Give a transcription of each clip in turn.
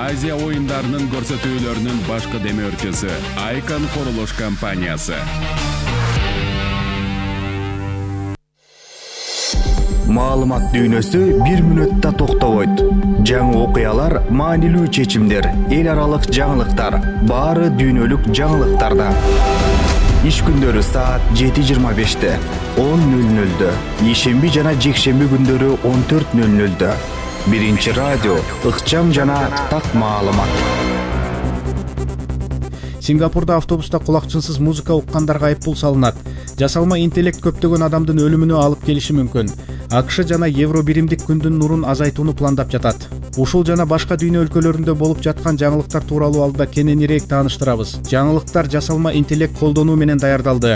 Азия оюндарынын көрсөтүүлөрүнүн башкы демөөрчүсү Айкон курулуш компаниясы. Маалымат дүйнөсү бир мүнөттө токтобойт. Жаңы окуялар, маанилүү чечимдер, эл аралык жаңылыктар, баары дүйнөлүк жаңылыктарда. Иш күндөрү саат 7:25, 10:00, ишемби жана жекшемби күндөрү 14:00. Биринчи радио, ыкчам жана так маалымат. Сингапурда автобуста кулакчынсыз музыка уккандарга айыппул салынат. Жасалма интеллект көптөгөн адамдын өлүмүнө алып келиши мүмкүн. АКШ жана Евро биримдик күндүн нурун азайтууну пландап жатат. Ушул жана башка дүйнө өлкөлөрүндө болуп жаткан жаңылыктар тууралуу алда кененирээк тааныштырабыз. Жаңылыктар жасалма интеллект колдонуу менен даярдалды.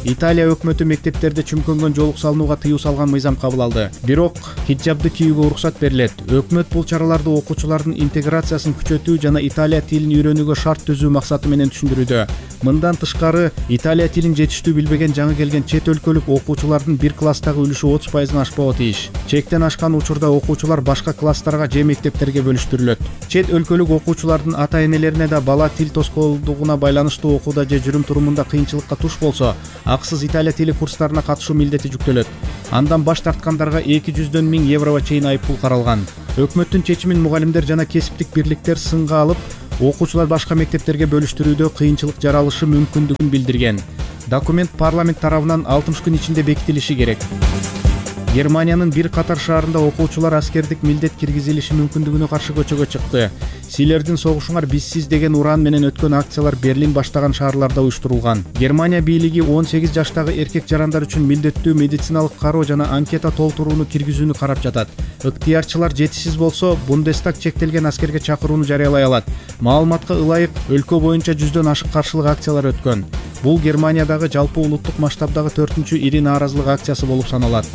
Италия өкмөтү мектептерде чүмкөнгөн жоолук салынууга тыюу салган мыйзам кабыл алды. Бирок хиджабды кийүүгө уруксат берилет. Өкмөт бул чараларды окуучулардын интеграциясын күчөтүү жана Италия тилин үйрөнүүгө шарт түзүү максаты менен түшүндүрүүдө. Мындан тышкары, Италия тилин жетиштүү билбеген жаңы келген чет өлкөлүк окуучулардын бир класстагы үлүшү 30%-дан ашпоо тийиш. Чектен ашкан учурда окуучулар башка класстарга же мектептерге бөлүштүрүлөт. Чет өлкөлүк окуучулардын ата-энелерине да бала тил тоскоолдугуна байланыштуу окууда же жүрүм-турумунда кыйынчылыкка туш болсо, акысыз Италия тили курстарына катышуу милдети жүктөлөт. Андан баш тарткандарга 200 000 еврого чейин айыппул каралган. Өкмөттүн чечимин мугалимдер жана кесиптик бирликтер сынга алып, окуучулар башка мектептерге бөлүштүрүүдө кыйынчылык жаралышы мүмкүндүгүн билдирген. Документ парламент тарабынан 60 күн ичинде бекитилиши керек. Германиянын бир катар шаарында окуучулар аскердик милдет киргизилиши мүмкүндүгүнө каршы көчөгө чыкты. Силердин согушуңар бизсиз деген уран менен өткөн акциялар Берлин баштаган шаарларда уюштурулган. Германия бийлиги 18 жаштагы эркек жарандар үчүн милдеттүү медициналык кароо жана анкета толтурууну киргизүүнү карап жатат. Ыктыярчылар жетишсиз болсо, Бундестаг чектелген аскерге чакырууну жарыялай алат. Маалыматка ылайык, өлкө боюнча 100дөн ашык каршылык акциялар өткөн. Бул Германиядагы жалпы улуттук масштабдагы 4-чү ири нааразылык акциясы болуп саналат.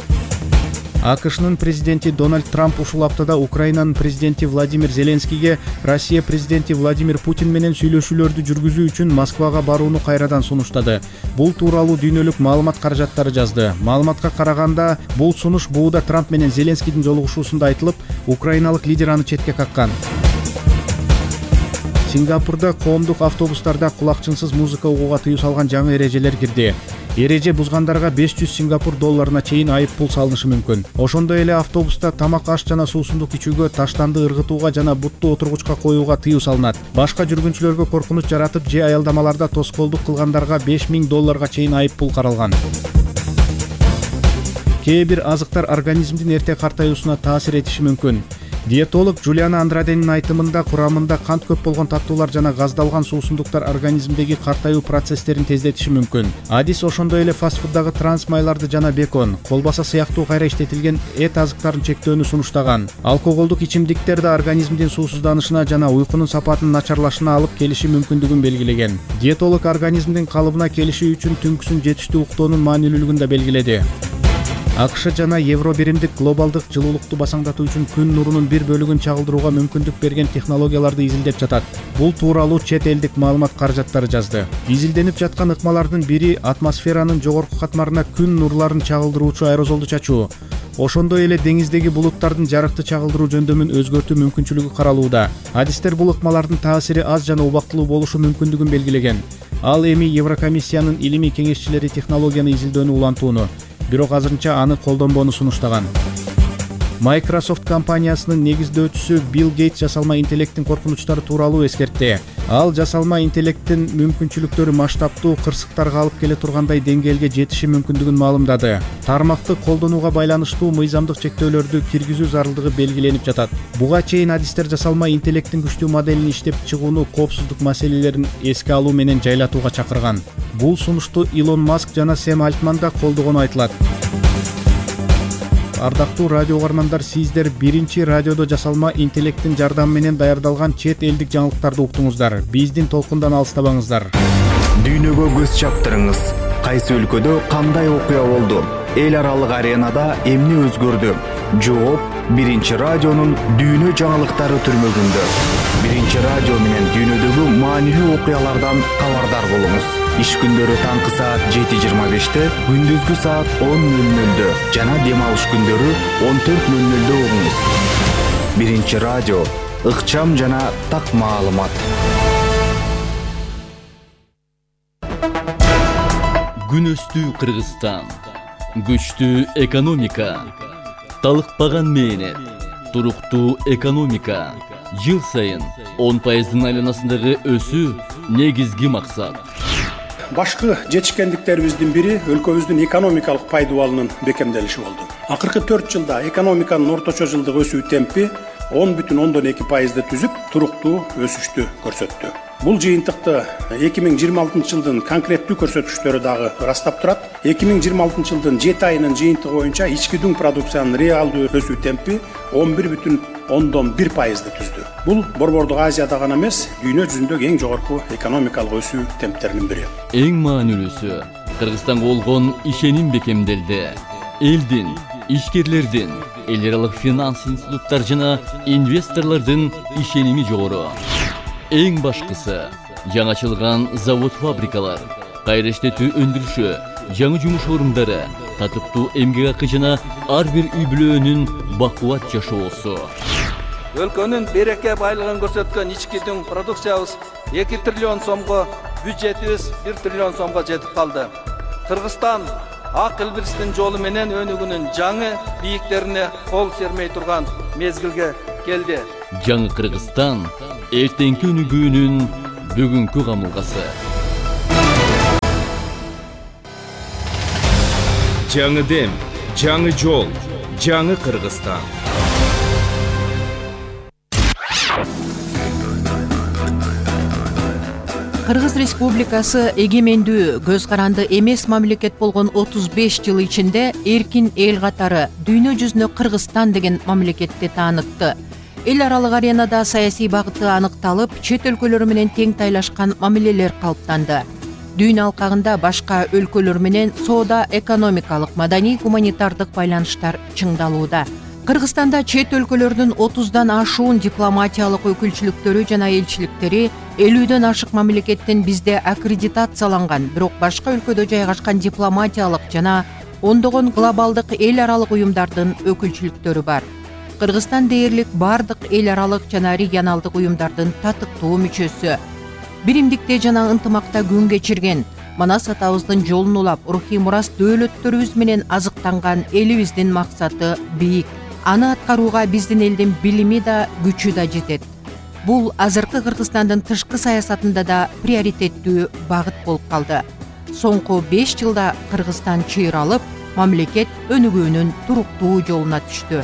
АКШнын президенти Дональд Трамп ушул аптада Украинанын президенти Владимир Зеленскийге Россия президенти Владимир Путин менен сүйлөшүүлөрдү жүргүзүү үчүн Москвага барууну кайрадан сунуштады. Бул тууралуу дүйнөлүк маалымат каражаттары жазды. Маалыматка караганда, бул сунуш бууда Трамп менен Зеленскийдин жолугушуусунда айтылып, украиналык лидер аны четке каккан. Сингапурда коомдук автобустарда кулакчынсыз музыка угууга тыюу салган жаңы эрежелер кирди. Эреже бузгандарга 500 Сингапур долларына чейин айыппул салынышы мүмкүн. Ошондой эле автобуста тамак, аш жана суусундук ичүүгө, таштанды ыргытууга жана бутту отургучка коюуга тыюу салынат. Башка жүргүнчүлөргө коркунуч жаратып же аялдамаларда тоскоолдук кылгандарга 5000 долларга чейин айыппул каралган. Кээ бир азыктар организмдин эрте картаюусуна таасир этиши мүмкүн. Диетолог Джулиана Андраденин айтымында, курамында кант көп болгон таттуулар жана газдалган суусундуктар организмдеги картаюу процесстерин тездетиши мүмкүн. Адис ошондой эле фастфуддагы транс майларды жана бекон, колбаса сыяктуу кайра иштетилген эт азыктарын чектөөнү сунуштаган. Алкоголдук ичимдиктер да организмдин суусузданышына жана уйкунун сапатынын начарлашына алып келиши мүмкүндүгүн белгилеген. Диетолог организмдин калыбына келиши үчүн түнкүсүн жетиштүү уктоонун маанилүүлүгүн да белгиледи. АКШ жана Евро биримдик глобалдык жылуулукту басаңдатуу үчүн күн нурунун бир бөлүгүн чагылдырууга мүмкүндүк берген технологияларды изилдеп жатат. Бул тууралуу чет элдик маалымат каражаттары жазды. Изилденип жаткан ыкмалардын бири атмосферанын жогорку катмарына күн нурларын чагылдыруучу аэрозолду чачуу. Ошондой эле деңиздеги булуттардын жарыкты чагылдыруу жөндөмүн өзгөртүү мүмкүнчүлүгү каралууда. Адистер бул ыкмалардын таасири аз жана убактылуу болушу мүмкүндүгүн белгилеген. Ал эми Еврокомиссиянын илимий кеңешчилери технологияны изилдөөнү улантууну, бирок азырынча аны колдонбоону сунуштаган. Microsoft компаниясынын негиздөөчүсү Билл Гейтс жасалма интеллекттин коркунучтары тууралуу эскертти. Ал жасалма интеллекттин мүмкүнчүлүктөрү масштабтуу кырсыктарга алып келе тургандай деңгээлге жетиши мүмкүндүгүн маалымдады. Тармакты колдонууга байланыштуу мыйзамдык чектөөлөрдү киргизүү зарылдыгы белгиленип жатат. Буга чейин адистер жасалма интеллекттин күчтүү моделин иштеп чыгууну коопсуздук маселелерин эске алуу менен жайлатууга чакырган. Бул сунушту Илон Маск жана Сэм Альтман да колдогону айтылат. Ардактуу радио угармандар, сиздер биринчи радиодо жасалма интеллекттин жардамы менен даярдалган чет элдик жаңылыктарды уктуңуздар. Биздин толкундан алыстабаңыздар. Дүйнөгө көз чаптырыңыз. Кайсы өлкөдө кандай окуя болду? Эл аралык аренада эмне өзгөрдү? Жооп биринчи радионун дүйнө жаңылыктары түрмөгүндө. Биринчи радио менен дүйнөдөгү маанилүү окуялардан кабардар болуңуз. Иш күндөрү таңкы саат 7:25, күндүзгү саат 10:00 жана дем алыш күндөрү 14:00 угуңуз. Биринчи биринчи радио, ыкчам жана так маалымат. Күнөстүү Кыргызстан, күчтүү экономика, талыкпаган мээнет, туруктуу экономика, жыл сайын 10% айланасындагы өсүү негизги максат. Башкы жетишкендиктерибиздин бири өлкөбүздүн экономикалык пайдубалынын бекемделиши болду. Акыркы 4 жылда экономиканын орточо жылдык өсүү темпи 10,2% түзүп, туруктуу өсүштү көрсөттү. Бул жыйынтыкты 2026 жылдын конкреттүү көрсөткүчтөрү дагы ырастап турат. 2026 жылдын 7 айынын жыйынтыгы боюнча ички дүң продукциянын реалдуу өсүү темпи 11,1% түздү. Бул Борбордук Азияда гана эмес, дүйнө жүзүндөгү эң жогорку экономикалык өсүү темптеринин бири. Эң маанилүүсү Кыргызстанга болгон ишеним бекемделди. Элдин, ишкерлердин, эл аралык финанс институттар жана инвесторлордун ишеними жогору. Эң башкысы жаңачылган завод-фабрикалар, кайра иштетүү өндүрүшү, жаңы жумуш орундары, татыктуу эмгек акы жана ар бир үй бүлөнүн бакубат жашоосу. Өлкөнүн береке байлыгын көрсөткөн ички дүң продукциябыз 2 триллион сомго, бюджетибиз 1 триллион сомго жетип калды. Кыргызстан ак илбирстин жолу менен өнүгүүнүн жаңы бийиктерине кол сермей турган мезгилге келди. Жаңы Кыргызстан эртеңки өнүгүүнүн бүгүнкү камылгасы. Жаңы дем, жаңы жол, жаңы Кыргызстан. Кыргыз Республикасы эгемендүү, көз каранды эмес мамлекет болгон 35 жыл ичинде эркин эл катары дүйнө жүзүнө Кыргызстан деген мамлекетти таанытты. Эл аралык аренада саясий багыты аныкталып, чет өлкөлөр менен тең тайлашкан мамилелер калыптанды. Дүйнө алкагында башка өлкөлөр менен соода, экономикалык, маданий, гуманитардык байланыштар чыңдалууда. Кыргызстанда чет өлкөлөрдүн 30дан ашуун дипломатиялык өкүлчүлүктөрү жана элчиликтери 50дөн ашык мамлекеттин бизде аккредитацияланган, бирок башка өлкөдө жайгашкан дипломатиялык жана ондогон глобалдык эл аралык уюмдардын өкүлчүлүктөрү бар. Кыргызстан дээрлик бардык эл аралык жана регионалдык уюмдардын татыктуу мүчөсү. Биримдикте жана ынтымакта күн кечирген, Манас атабыздын жолун улап, рухий мурас дөөлөттөрүбүз менен азыктанган элибиздин максаты бийик. Аны аткарууга биздин элдин билими да, күчү да жетет. Бул азыркы Кыргызстандын тышкы саясатында да приоритеттүү багыт болуп калды. Соңку 5 жылда Кыргызстан чыйралып, мамлекет өнүгүүнүн туруктуу жолуна түштү.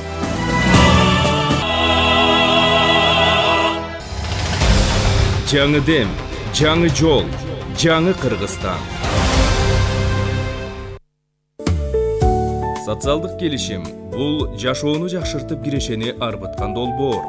Жаңы дем, жаңы жол, жаңы Кыргызстан. Социалдык келишим бул жашоону жакшыртып кирешени арбыткан долбоор.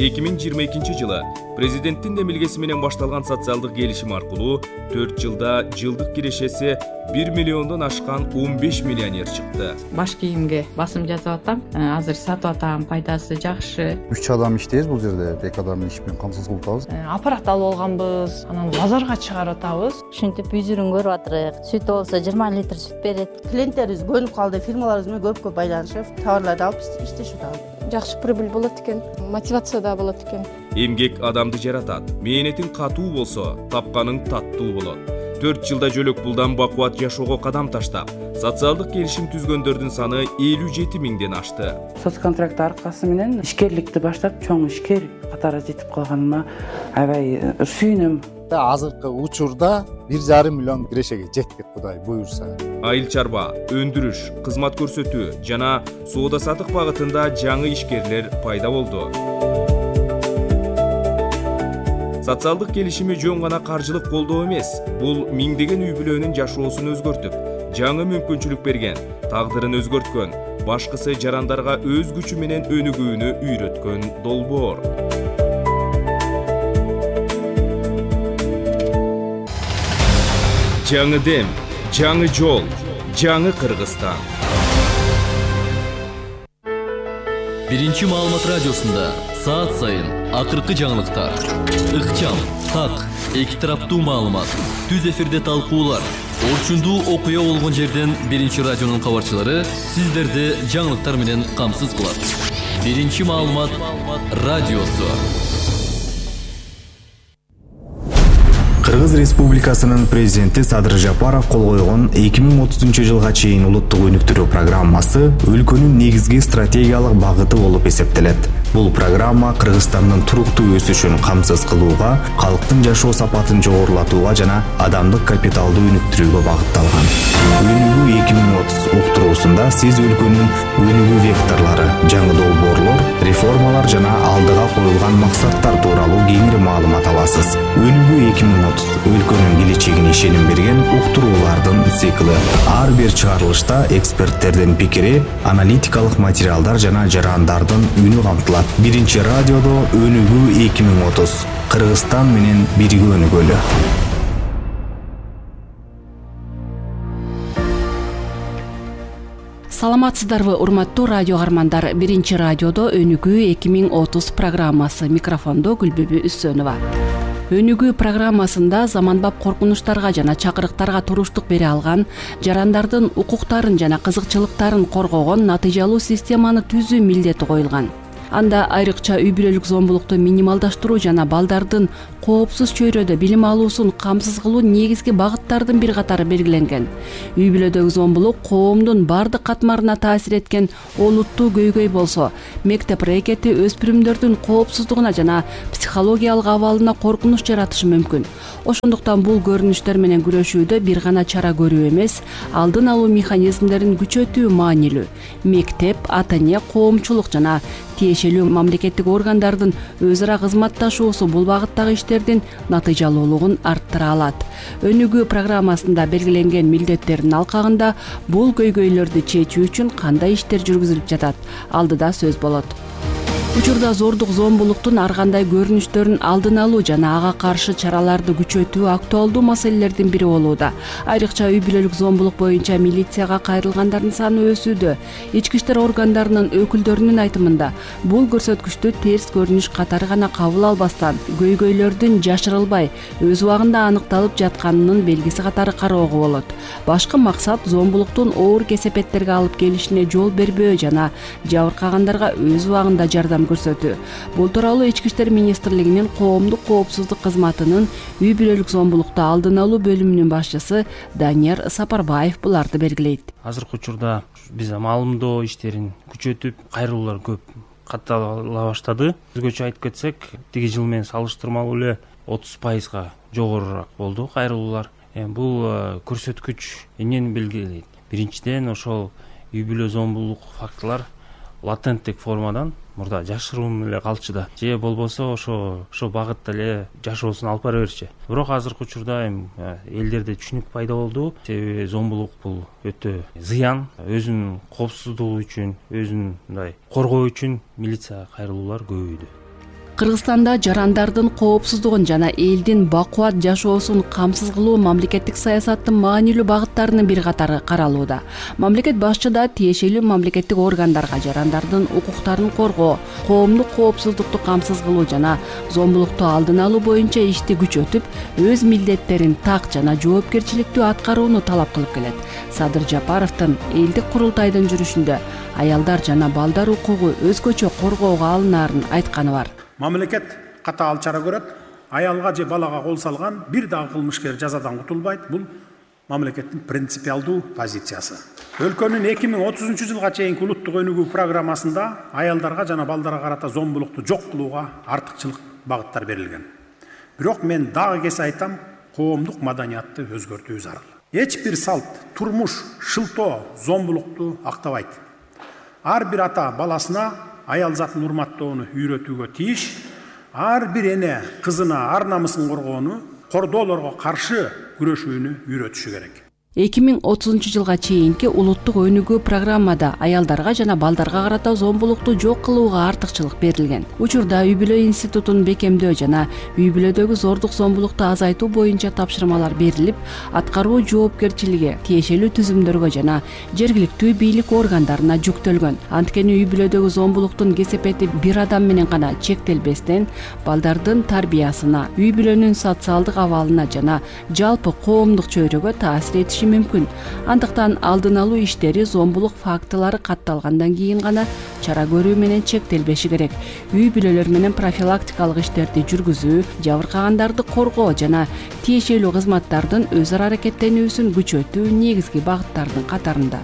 2022 жылы президенттин демилгеси менен башталган социалдык келишим аркылуу 4 жылда жылдык кирешеси 1 миллиондон ашкан 15 миллионер чыкты. Баш кийимге басым жасап атам. Азыр сатып атам, пайдасы жакшы. 3 адам иштейбиз бул жерде, 2 адамды иш менен камсыз кылып атабыз. Аппарат алып алганбыз, анан базарга чыгарып атабыз. Ушинтип үзүрүн көрүп атырык. Сүт болсо 20 литр сүт берет. Клиенттерибиз бөлүнүп калды, фирмаларыбыз менен көп байланышып, товарларды алып иштешип атабыз. Жакшы прибыль болот экен, мотивация да болот экен. Эмгек адамды жаратат. Мээнетиң катуу болсо, тапканың таттуу болот. 4 жылда жөлөк пулдан бакубат жашоого кадам таштап, социалдык келишим түзгөндөрдүн саны 57 миңден ашты. Соцконтракт аркасы менен ишкерликти баштап, чоң ишкер катары жетип калганыма аябай сүйүнөм. Азыркы учурда 1,5 миллион кирешеге жеттик, Кудай буйрса. Айыл чарба, өндүрүш, кызмат көрсөтүү жана соода сатык багытында жаңы ишкерлер пайда болду. Социалдык келишими жөн гана каржылык колдоо эмес, бул миңдеген үй бүлөнүн жашоосун өзгөртүп, жаңы мүмкүнчүлүк берген, тагдырын өзгөрткөн, башкысы жарандарга өз күчү менен өнүгүүнү үйрөткөн долбоор. Жаңы дем, жаңы жол, жаңы Кыргызстан. Биринчи маалымат радиосунда саат сайын акыркы жаңылыктар, ыкчам, так, эки тараптуу маалымат, түз эфирде талкуулар, Орчундуу окуя болгон жерден Биринчи радионун кабарчылары сиздерди жаңылыктар менен камсыз кылат. Биринчи маалымат радиосу. Кыргыз Республикасынын президенти Садыр Жапаров кол койгон 2030 жылга чейин улуттук өнүктүрүү программасы өлкөнүн негизги стратегиялык багыты болуп эсептелет. Бул программа Кыргызстандын туруктуу өсүшүн камсыз кылууга, калктын жашоо сапатын жогорулатууга жана адамдык капиталды өнүктүрүүгө багытталган. Өнүгүү 2030 уктуруусунда сиз өлкөнүн өнүгүү векторлору, жаңы долбоорлор, реформалар жана алдыга коюлган максаттар тууралуу кеңири маалымат аласыз. Өнүгүү 2030 өлкөнүн келечегине ишеним берген уктуруулардын циклы. Ар бир чыгарылышта эксперттердин пикири, аналитикалык материалдар жана жарандардын үнү камтылат. Биринчи радиодо Өнүгүү 2030. Кыргызстан менен бирге өнүгөлү. Саламатсыздарбы, урматтуу радио каармандар. Биринчи радиодо Өнүгүү 2030 программасы. Микрофондо Гүлбүбү Үсөнова. Өнүгүү программасында заманбап коркунучтарга жана чакырыктарга туруштук бере алган, жарандардын укуктарын жана кызыкчылыктарын коргогон натыйжалуу системаны түзүү милдети коюлган. Анда айрыкча үй бүлөлүк зомбулукту минималдаштыруу жана балдардын коопсуз чөйрөдө билим алуусун камсыз кылуу негизги багыттардын бир катары белгиленген. Үй бүлөдөгү зомбулук коомдун бардык катмарына таасир эткен олуттуу көйгөй болсо, мектеп рекети өспүрүмдөрдүн коопсуздугуна жана психологиялык абалына коркунуч жаратышы мүмкүн. Ошондуктан бул көрүнүштөр менен күрөшүүдө бир гана чара көрүү эмес, алдын алуу механизмдерин күчөтүү маанилүү. Мектеп, ата-эне, коомчулук жана тиешелүү мамлекеттик органдардын өз ара кызматташуусу бул багыттагы иштердин натыйжалуулугун арттыра алат. Өнүгүү программасында белгиленген милдеттердин алкагында бул көйгөйлөрдү чечүү үчүн кандай иштер жүргүзүлүп жатат? Алдыда сөз болот. Учурда зордук зомбулуктун ар кандай көрүнүштөрүн алдын алуу жана ага каршы чараларды күчөтүү актуалдуу маселелердин бири болууда. Айрыкча үй бүлөлүк зомбулук боюнча милицияга кайрылгандардын саны өсүүдө. Ички иштер органдарынын өкүлдөрүнүн айтымында, бул көрсөткүчтү терс көрүнүш катары гана кабыл албастан, көйгөйлөрдүн жашырылбай, өз убагында аныкталып жатканынын белгиси катары кароого болот. Башкы максат зомбулуктун оор кесепеттерге алып келишине жол бербөө жана жабыркагандарга өз убагында жардам көрсөтүү. Бул тууралуу Ички иштер министрлигинин коомдук коопсуздук кызматынын үй бүлөлүк зомбулукту алдын алуу бөлүмүнүн башчысы Данияр Сапарбаев буларды белгилейт. Азыркы учурда биз маалымдоо иштерин күчөтүп, кайрылуулар көп каттала баштады. Өзгөчө айтып кетсек, тиги жыл менен салыштырмалуу эле 30% жогорураак болду кайрылуулар. Бул көрсөткүч эмнени белгилейт? Биринчиден, ошол үй бүлө зомбулук фактылар латенттик формадан мурда жашыруун эле калчу да, же болбосо ошо багытта эле жашоосун алып бара берчү. Бирок азыркы учурда элдерде түшүнүк пайда болду. Себеби зомбулук бул өтө зыян, өзүнүн коопсуздугу үчүн, өзүн мындай коргоо үчүн милиция кайрылуулар көбөйдү. Кыргызстанда жарандардын коопсуздугун жана элдин бакубат жашоосун камсыз кылуу мамлекеттик саясаттын маанилүү багыттарынын бир катары каралууда. Мамлекет башчы да тиешелүү мамлекеттик органдарга жарандардын укуктарын коргоо, коомдук коопсуздукту камсыз кылуу жана зомбулукту алдын алуу боюнча ишти күчөтүп, өз милдеттерин так жана жоопкерчиликтүү аткарууну талап кылып келет. Садыр Жапаровдун элдик курултайдын жүрүшүндө аялдар жана балдар укугу өзгөчө коргоого алынаарын айтканы бар. Мамлекет катаал чара көрөт. Аялга же балага кол салган бир дагы кылмышкер жазадан кутулбайт. Бул мамлекеттин принципиалдуу позициясы. Өлкөнүн 2030 жылга чейинки улуттук өнүгүү программасында аялдарга жана балдарга карата зомбулукту жок кылууга артыкчылык багыттар берилген. Бирок мен дагы кесе айтам, коомдук маданиятты өзгөртүү зарыл. Эч бир салт, турмуш, шылтоо зомбулукту актабайт. Ар бир ата баласына аял затын урматтоону үйрөтүүгө тийиш, ар бир эне кызына ар намысын коргоону, кордоолорго каршы күрөшүүнү үйрөтүшү керек. 2030 жылга чейинки улуттук өнүгүү программада аялдарга жана балдарга карата зомбулукту жок кылууга артыкчылык берилген. Учурда үй бүлө институтун бекемдөө жана үй бүлөдөгү зордук зомбулукту азайтуу боюнча тапшырмалар берилип, аткаруу жоопкерчилиги тиешелүү түзүмдөргө жана жергиликтүү бийлик органдарына жүктөлгөн. Анткени үй бүлөдөгү зомбулуктун кесепети бир адам менен гана чектелбестен, балдардын тарбиясына, үй бүлөнүн социалдык абалына жана жалпы коомдук чөйрөгө таасир этиши мүмкүн. Андыктан алдын алуу иштери зомбулук фактылары катталгандан кийин гана чара көрүү менен чектелбеши керек. Үй бүлөлөр менен профилактикалык иштерди жүргүзүү, жабыркагандарды коргоо жана тиешелүү кызматтардын өз ара аракеттенүүсүн күчөтүү негизги багыттардын катарында.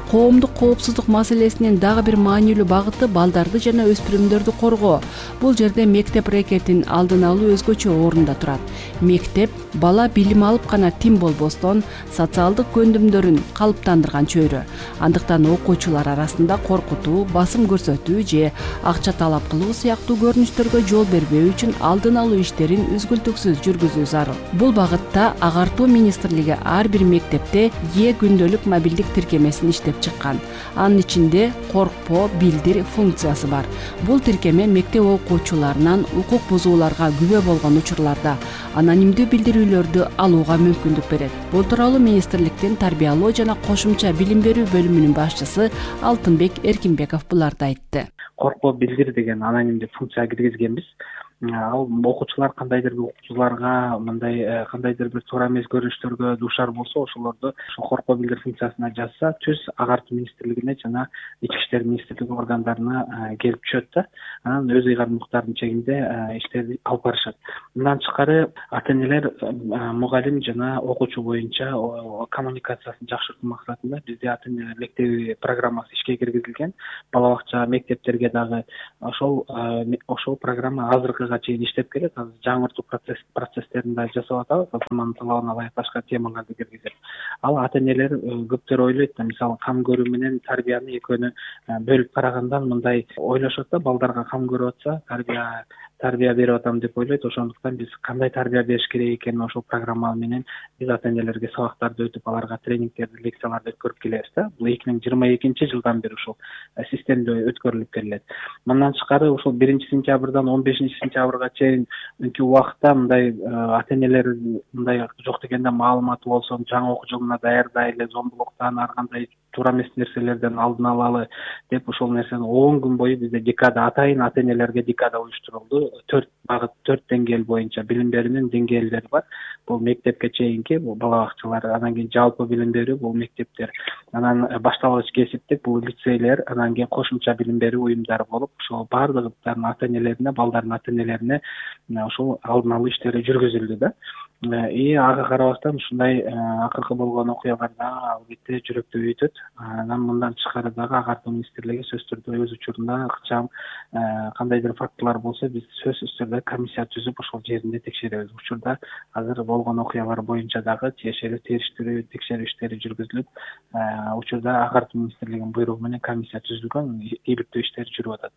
Коомдук коопсуздук маселесинин дагы бир маанилүү багыты балдарды жана өспүрүмдөрдү коргоо. Бул жерде мектеп рекетин алдын алуу өзгөчө орунда турат. Мектеп бала билим алып гана тим болбостон социалдык көндүмдөрүн калыптандырган чөйрө. Андыктан окуучулар арасында коркутуу, басым көрсөтүү же акча талап кылуу сыяктуу көрүнүштөргө жол бербөө үчүн алдын алуу иштерин үзгүлтүксүз жүргүзүү зарыл. Бул багытта Агартуу министрлиги ар бир мектепте күндөлүк мобилдик тиркемесин иштеп чыккан. Анын ичинде коркпо, билдир функциясы бар. Бул тиркеме мектеп окуучуларынан укук бузууларга күбө болгон учурларда анонимдүү билдирүүлөрдү алууга мүмкүндүк берет. Бул тууралуу министрликтин тарбиялоо жана кошумча билим берүү бөлүмүнүн башчысы Алтынбек Эркинбеков буларды айтты. Коркпо, билдир деген анонимдүү функция киргизгенбиз. Ал окуучулар кандайдыр бир окуучуларга мындай кандайдыр бир туура эмес көрүнүштөргө дуушар болсо, ошолорду ошо коркпо билдир функциясына жазса, түз Агартуу министрлигине жана Ички иштер министрлиги органдарына келип түшөт да. Анан өз ыйгарымдуулуктарынын чегинде иштерди алып барышат. Мындан тышкары ата-энелер мугалим жана окуучу боюнча коммуникациясын жакшыртуу максатында бизде ата-энелер мектеби программасы ишке киргизилген. Бала бакча, мектептерге дагы ошол программа азыркы чейин иштеп келет. Азыр жаңыртуу процесстерин да жасап атабыз. Заман талабына ылайык башка темаларды киргизип. Ал ата-энелер көптөр ойлойт да, мисалы кам көрүү менен тарбияны экөөнү бөлүп карагандан мындай ойлошот да, балдарга кам көрүп атса, тарбия берип атам деп ойлойт. Ошондуктан биз кандай тарбия бериш керек экенин ошол программа менен биз ата-энелерге сабактарды өтүп, аларга тренингтерди, лекцияларды өткөрүп келебиз да. Бул 2022 жылдан бери ушул системде өткөрүлүп келет. Мындан тышкары ушул 1-сентябрдан 15-сентябрга чейинки убакытта мындай ата-энелер мындай жок дегенде маалыматы болсун, жаңы окуу жылына даярдайлы, зомбулуктан ар кандай туура эмес нерселерден алдын алалы деп ошол нерсени 10 күн бою бизде декада атайын ата-энелерге декада уюштурулду. 4 багыт, 4 деңгээл боюнча билим берүүнүн деңгээлдери бар. Бул мектепке чейинки, бул бала бакчалар, анан кийин жалпы билим берүү, бул мектептер, анан башталгыч кесиптик, бул лицейлер, анан кийин кошумча билим берүү уюмдары болуп, ошол баардыгынын ата-энелерине, балдардын ата-энелерине ошол алдын алуу иштери жүргүзүлдү да. Ага карабастан ушундай акыркы болгон окуяларда албетте жүрөктөп өтөт. Анан мындан тышкары дагы Агартуу министрлиги сөзсүз түрдө өз учурунда ыкчам кандайдыр фактылар болсо, биз сөзсүз түрдө комиссия түзүп ошол жеринде текшеребиз. Учурда азыр болгон окуялар боюнча дагы тиешелүү териштирүү, текшерүү иштери жүргүзүлүп, учурда Агартуу министрлигинин буйругу менен комиссия түзүлгөн, иликтөө иштери жүрүп атат.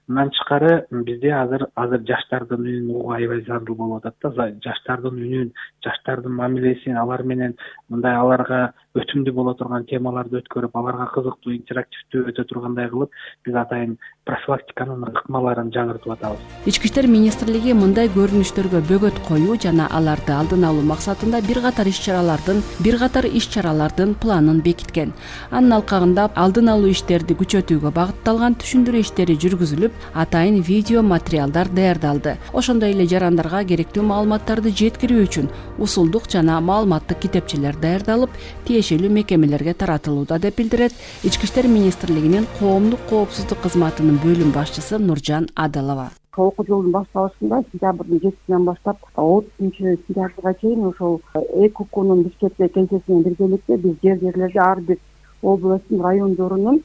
Мындан тышкары бизде азыр жаштардын үнүн угуу аябай зарыл болуп атат да. Жаштардын үнүн, жаштардын мамилесин, алар менен мындай аларга өтүмдүү боло турган темаларды өткөрүп, аларга кызыктуу, интерактивдүү өтө тургандай кылып, биз атайын профилактиканын ыкмаларын жаңыртып атабыз. Ички иштер министрлиги мындай көрүнүштөргө бөгөт коюу жана аларды алдын алуу максатында бир катар иш-чаралардын планын бекиткен. Анын алкагында алдын алуу иштерди күчөтүүгө багытталган түшүндүрүү иштери жүргүзүлүп, атайын видео материалдар даярдалды. Ошондой эле жарандарга керектүү маалыматтарды жеткирүү үчүн усулдук жана маалыматтык китепчелер даярдалып, тиешелүү мекемелерге таратылууда деп билдирет Ички иштер министрлигинин коомдук коопсуздук кызматынын бөлүм башчысы Нуржан Адалова. Окуу жылдын башталышында сентябрдын 7-синен баштап 30-сентябрга чейин ошол ЭКУКунун Бишкекте кеңсесинен биргеликте биз жерлерде ар бир областтын, райондорунун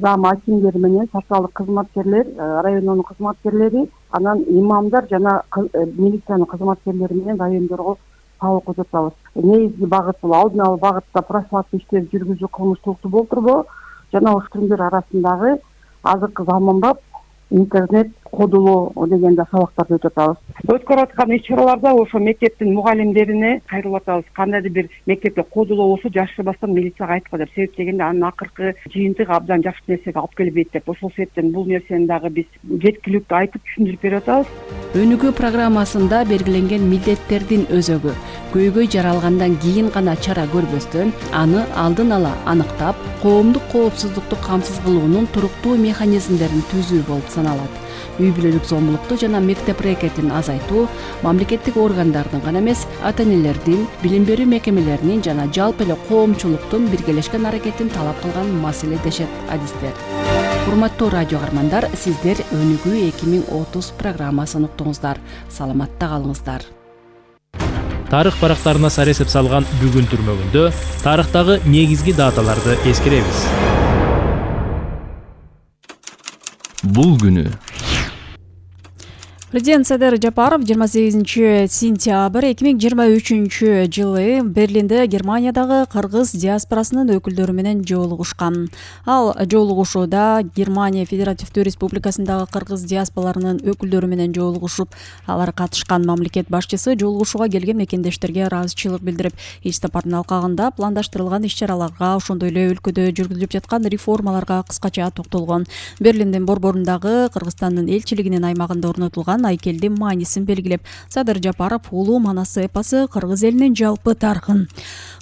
зам акимдери менен социалдык кызматкерлер, райондун кызматкерлери, анан имамдар жана милициянын кызматкерлери менен райондорго сабак өтөтөбүз. Негизги багыт бул алдын алуу багытта профилактика иштери жүргүзүү, кылмыштуулукту болтурбоо жана ошол күндөр арасындагы азыркы заманбап интернет кодулоо дегенде сабактарды өтүп атабыз. Өткөрүп аткан иш-чараларда ошо мектептин мугалимдерине кайрылып атабыз. Кандайдыр бир мектепте кодулоо болсо жашырбастан милицияга айткыла деп. Себеп дегенде анын акыркы жыйынтыгы абдан жакшы нерсеге алып келбейт деп. Ошол себептен бул нерсени дагы биз жеткиликтүү айтып түшүндүрүп берип атабыз. Өнүгүү программасында белгиленген милдеттердин өзөгү көйгөй жаралгандан кийин гана чара көрбөстөн, аны алдын ала аныктап, коомдук коопсуздукту камсыз кылуунун туруктуу механизмдерин түзүү болуп саналат. Үй бүлөлүк зомбулукту жана мектеп рекетин азайтуу мамлекеттик органдардын гана эмес, ата-энелердин, билим берүү мекемелеринин жана жалпы эле коомчулуктун биргелешкен аракетин талап кылган маселе дешет адистер. Урматтуу радио каармандар, сиздер Өнүгүү 2030 программасын уктуңуздар. Саламатта калыңыздар. Тарых барактарына сар эсеп салган бүгүн түрмөгүндө тарыхтагы негизги даталарды эскеребиз. Бул күнү Президент Садыр Жапаров 28-сентябрь 2023-жылы Берлинде Германиядагы кыргыз диаспорасынын өкүлдөрү менен жолугушкан. Ал жолугушууда Германия Федеративдүү Республикасындагы кыргыз диаспораларынын өкүлдөрү менен жолугушуп, алар катышкан мамлекет башчысы жолугушууга келген мекендештерге ыраазычылык билдирип, иш сапардын алкагында пландаштырылган иш-чараларга, ошондой эле өлкөдө жүргүзүлүп жаткан реформаларга кыскача токтолгон. Берлиндин борборундагы Кыргызстандын элчилигинин аймагында орнотулган айкелдин маанисин белгилеп, Садыр Жапаров улуу манасы эпосу кыргыз элинин жалпы тарыхын,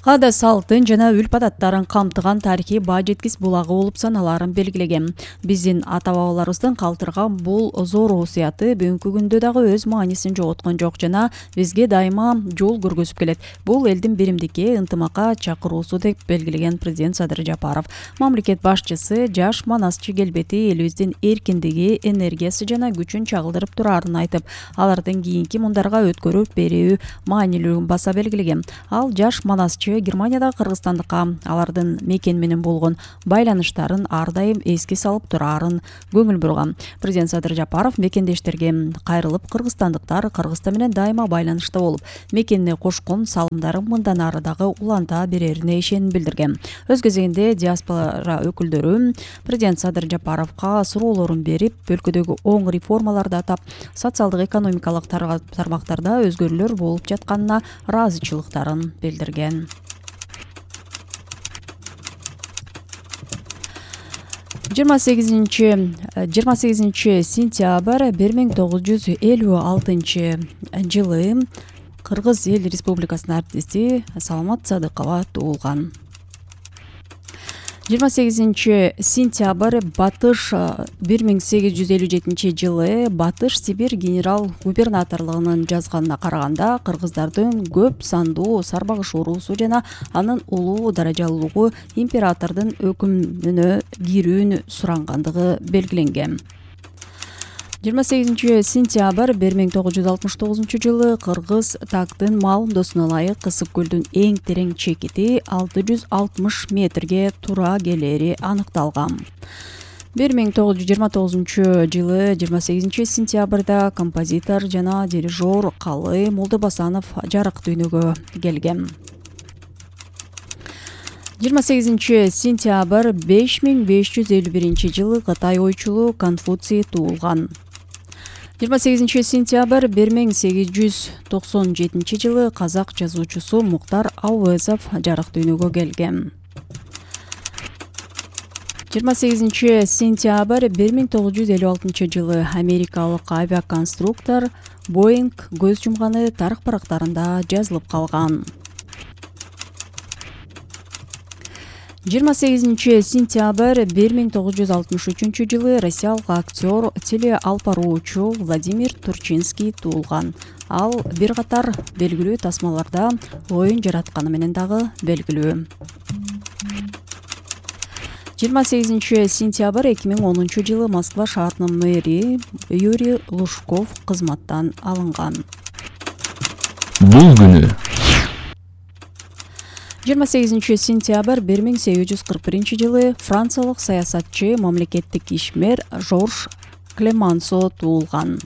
каада салтын жана үлп адаттарын камтыган тарихий баа жеткис булагы болуп саналаарын белгилеген. Биздин ата-бабаларыбыздын калтырган бул зор осуяты бүгүнкү күндө дагы өз маанисин жоготкон жок жана бизге дайыма жол көргөзүп келет. Бул элдин биримдикке, ынтымакка чакыруусу деп белгилеген президент Садыр Жапаров. Мамлекет башчысы жаш манасчы келбети элибиздин эркиндиги, энергиясы жана күчүн чагылдырып турарын айтып, алардын кийинки мундарга өткөрүп берүү маанилүүлүгүн баса белгилеген. Ал жаш манасчы Германиядагы кыргызстандыкка алардын мекен менен болгон байланыштарын ар дайым эске салып турарын көңүл бурган. Президент Садыр Жапаров мекендештерге кайрылып, кыргызстандыктар Кыргызстан менен дайыма байланышта болуп, мекенине кошкон салымдарын мындан ары дагы уланта берерине ишеним билдирген. Өз кезегинде диаспора өкүлдөрү президент Садыр Жапаровго суроолорун берип, өлкөдөгү оң реформаларды атап, социалдык экономикалык тармактарда өзгөрүүлөр болуп жатканына ыраазычылыктарын билдирген. 28 сентябрь 1956 жылы Кыргыз Эл Республикасынын артисти Саламат Садыкова туулган. 28 сентябрь Батыш 1857 жылы Батыш Сибирь генерал-губернаторлугунун жазганына караганда кыргыздардын көп сандуу сарбагыш уруусу жана анын улуу даражалуулугу императордун өкүмүнө кирүүнү сурангандыгы белгиленген. 28 сентябрь 1969 жылы Кыргыз тактын маалымдоосуна ылайык Кысык көлдүн эң терең чекити 660 метрге туура келери аныкталган. 1929 жылы 28 сентябрда композитор жана дирижер Калы Молдобасанов жарык дүйнөгө келген. 28 сентябрь 5551 жылы Кытай ойчулу Конфуций туулган. 28 сентябрь 1897 жылы казак жазуучусу Муктар Ауезов жарык дүйнөгө келген. 28 сентябрь 1956 жылы америкалык авиаконструктор Боинг көз жумганы тарых барактарында жазылып калган. 28 сентябрь 1963 жылы россиялык актер, телеалпаруучу Владимир Турчинский туулган. Ал бир катар белгилүү тасмаларда оюн жаратканы менен дагы белгилүү. 28 сентябрь 2010 жылы Москва шаарынын мэри Юрий Лужков кызматтан алынган. Бул күнү 28 сентябрь 1841 жылы франциялык саясатчы, мамлекеттик ишмер Жорж Клемансо туулган.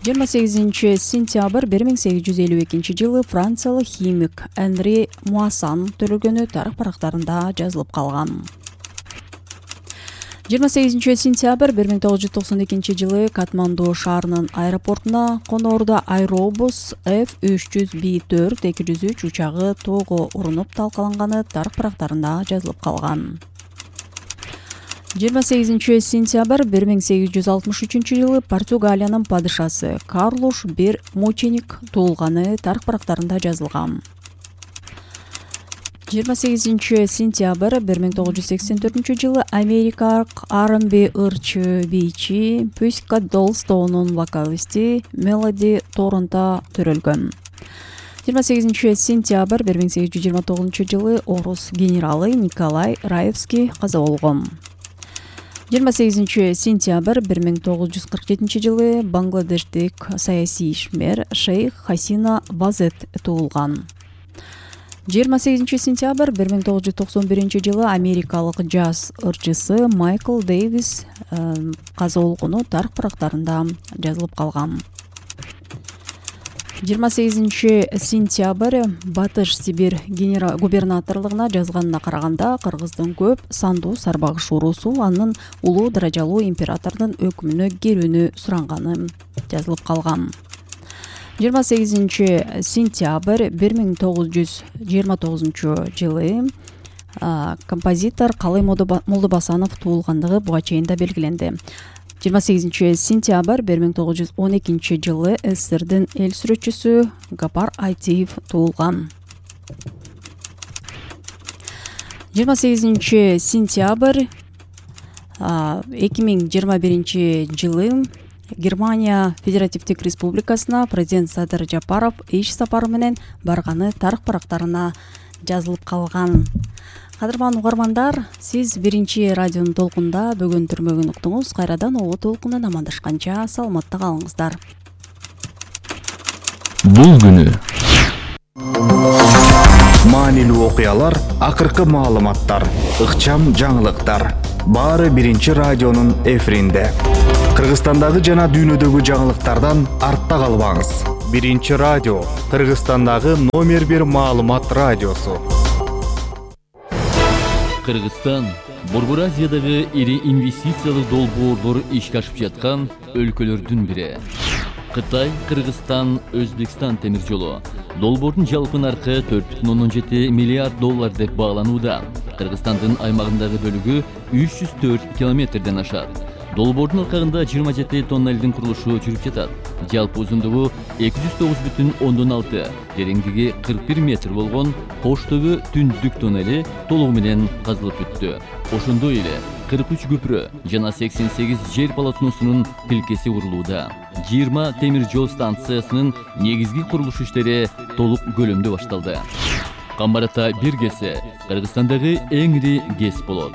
28 сентябрь 1852 жылы франциялык химик Энри Муасан төрөлгөнү тарых барактарында жазылып калган. 28-сентябрь 1992 Катманду шаарынын аэропортуна коноордо Аэробус F300B4 203 учагы тоого урунуп талкаланганы тарых барактарында жазылып калган. 28-сентябрь 1863 Португалиянын падышасы Карлуш I мученик туулганы тарых барактарында жазылган. 28-сентябрь 1984 Америкалык R&B ырчы бийчи Pussycat Dolls'нун вокалисти Мелоди Торонто төрөлгөн. 28-сентябрь 1829 орус генералы Николай Раевский каза болгон. 28-сентябрь 1947 Бангладештик саясий ишмер Шейх Хасина Вазет туулган. 28-сентябрь 1991 Америкалык джаз ырчысы Майкл Дэвис каза болгону тарых барактарында жазылып калган. 28-сентябрь Батыш Сибирь губернаторлугуна жазганына караганда Кыргыздын көп сандуу сарбагыш уруусу анын улуу даражалуу императордун өкүмүнө керүүнү суранганы жазылып калган. 28-сентябрь 1929 композитор Калай Молдобасанов туулгандыгы буга чейин да белгиленди. 28-сентябрь 1912 СССРдин эл сүрөтчүсү Гапар Айтиев туулган. 28-сентябрь 2021 Германия Федеративдик Республикасына президент Садыр Жапаров иш сапары менен барганы тарых барактарына жазылып калган. Кадырман угармандар, сиз биринчи радионун толкунда бүгүн түрмөгүн уктуңуз. Кайрадан оо толкундан амандашканча саламатта калыңыздар. Бул күнү маанилүү окуялар, акыркы маалыматтар, ыкчам жаңылыктар баары биринчи радионун эфиринде. Кыргызстандагы жана дүйнөдөгү жаңылыктардан артта калбаңыз. Биринчи радио, Кыргызстандагы номер 1 маалымат радиосу. Кыргызстан Борбор Азиядагы ири инвестициялык долбоорлор ишке ашып жаткан өлкөлөрдүн бири. Кытай, Кыргызстан, Өзбекстан темир жолу долбоордун жалпы наркы $4,7 миллиард деп бааланууда. Кыргызстандын аймагындагы бөлүгү 304 километрден ашат. Долбоордун алкагында 27 тоннелдин курулушу жүрүп жатат. Жалпы узундугу 209,6, тереңдиги 41 метр болгон Коштөгү түндүк тоннели толугу менен казылып бүттү. Ошондой эле 43 көпүрө жана 88 жер полотносунун тилкеси курулууда. 20 темир жол станциясынын негизги курулуш иштери толук көлөмдө башталды. Камбарата биргеси Кыргызстандагы эң ири ГЭС болот.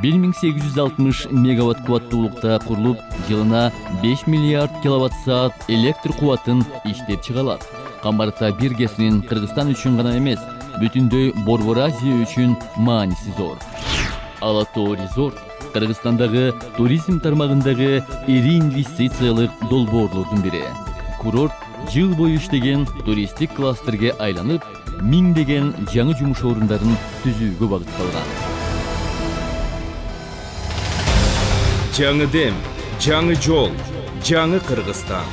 1860 мегаватт кубаттуулукта курулуп, жылына 5 миллиард киловатт-саат электр кубатын иштеп чыгалат. Камбарата биргесинин Кыргызстан үчүн гана эмес, бүтүндөй Борбор Азия үчүн мааниси зор. Ала Тоо резорт Кыргызстандагы туризм тармагындагы ири инвестициялык долбоорлордун бири. Курорт жыл бою иштеген туристтик кластерге айланып, миңдеген жаңы жумуш орундарын түзүүгө багытталган. Жаңы дем, жаңы жол, жаңы Кыргызстан.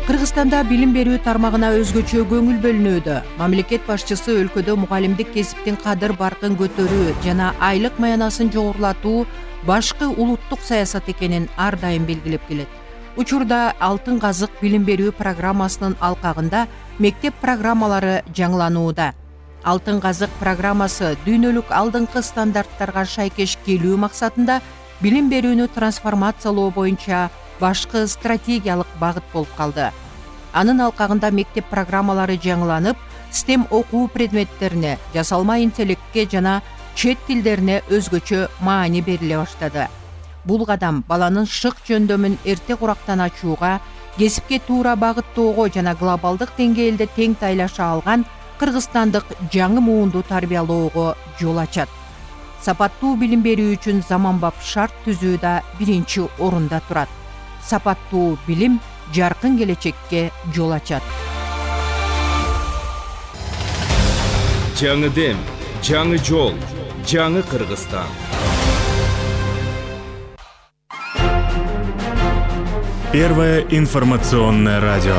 Кыргызстанда билим берүү тармагына өзгөчө көңүл бөлүнүүдө. Мамлекет башчысы өлкөдө мугалимдик кесиптин кадыр баркын көтөрүү жана айлык маянасын жогорулатуу башкы улуттук саясат экенин ар дайым белгилеп келет. Учурда Алтын казык билим берүү программасынын алкагында мектеп программалары жаңыланууда. Алтын казык программасы дүйнөлүк алдыңкы стандарттарга шайкеш келүү максатында билим берүүнү трансформациялоо боюнча башкы стратегиялык багыт болуп калды. Анын алкагында мектеп программалары жаңыланып, STEM окуу предметтерине, жасалма интеллектке жана чет тилдерине өзгөчө маани бериле баштады. Бул кадам баланын шык жөндөмүн эрте курактан ачууга, кесипке туура багыттоого жана глобалдык деңгээлде тең тайлаша алган кыргызстандык жаңы муунду тарбиялоого жол ачат. Сапаттуу билим берүү үчүн заманбап шарт түзүү да биринчи орунда турат. Сапаттуу билим жаркын келечекке жол ачат. жаңы дем, жаңы жол, жаңы Кыргызстан. Первое информационное радио.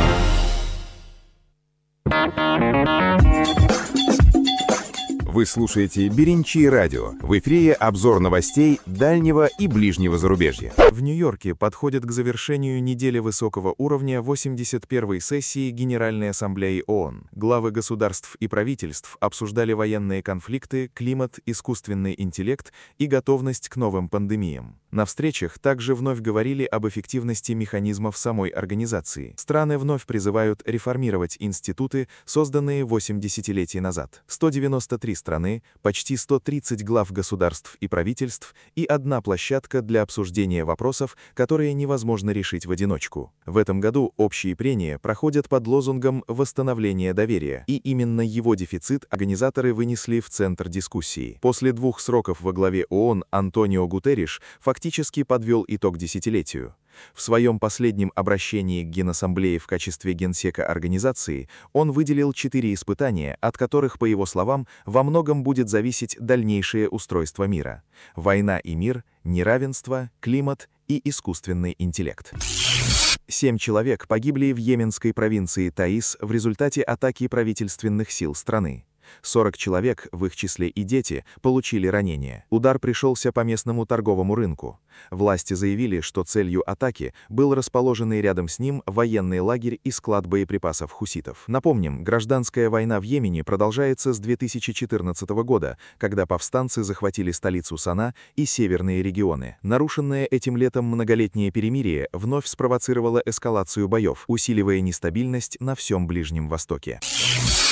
Вы слушаете «Беринчи радио». В эфире обзор новостей дальнего и ближнего зарубежья. В Нью-Йорке подходит к завершению недели высокого уровня 81-й сессии Генеральной Ассамблеи ООН. Главы государств и правительств обсуждали военные конфликты, климат, искусственный интеллект и готовность к новым пандемиям. На встречах также вновь говорили об эффективности механизмов самой организации. Страны вновь призывают реформировать институты, созданные 8 десятилетий назад. 193 страны, почти 130 глав государств и правительств и одна площадка для обсуждения вопросов, которые невозможно решить в одиночку. В этом году общие прения проходят под лозунгом «Восстановление доверия», и именно его дефицит организаторы вынесли в центр дискуссии. После 2 сроков во главе ООН Антонио Гутерриш фактически подвел итог десятилетию. В своем последнем обращении к Генассамблее в качестве генсека организации он выделил 4 испытания, от которых, по его словам, во многом будет зависеть дальнейшее устройство мира: война и мир, неравенство, климат и искусственный интеллект. 7 человек погибли в йеменской провинции Таис в результате атаки правительственных сил страны. 40 человек, в их числе и дети, получили ранения. Удар пришелся по местному торговому рынку. Власти заявили, что целью атаки был расположенный рядом с ним военный лагерь и склад боеприпасов хуситов. Напомним, гражданская война в Йемене продолжается с 2014 года, когда повстанцы захватили столицу Сана и северные регионы. Нарушенное этим летом многолетнее перемирие вновь спровоцировало эскалацию боев, усиливая нестабильность на всем Ближнем Востоке.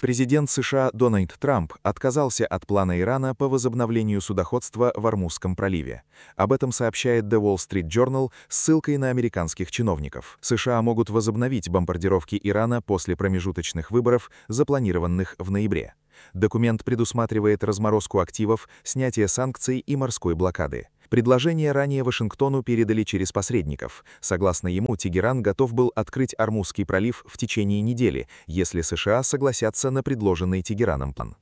Президент США Дональд Трамп отказался от плана Ирана по возобновлению судоходства в Ормузском проливе. Об этом сообщает The Wall Street Journal с ссылкой на американских чиновников. США могут возобновить бомбардировки Ирана после промежуточных выборов, запланированных в ноябре. Документ предусматривает разморозку активов, снятие санкций и морской блокады. Предложение ранее Вашингтону передали через посредников. Согласно ему, Тегеран готов был открыть Ормузский пролив в течение недели, если США согласятся на предложенный Тегераном план.